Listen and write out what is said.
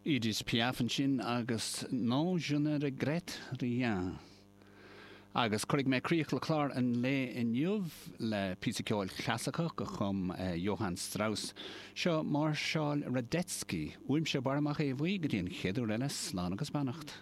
Edith Piaf ansin agus Non je ne regrette rien. Agus cuirfidh mé críoch le clár an lae inniu le píosa ceoil chlasaiceach a chum Johann Strauss. Seo Máirseáil Radetzky. Uaimse Barra Mac Aodha Bhuí go dtí an chéad uair eile, slán agus beannacht.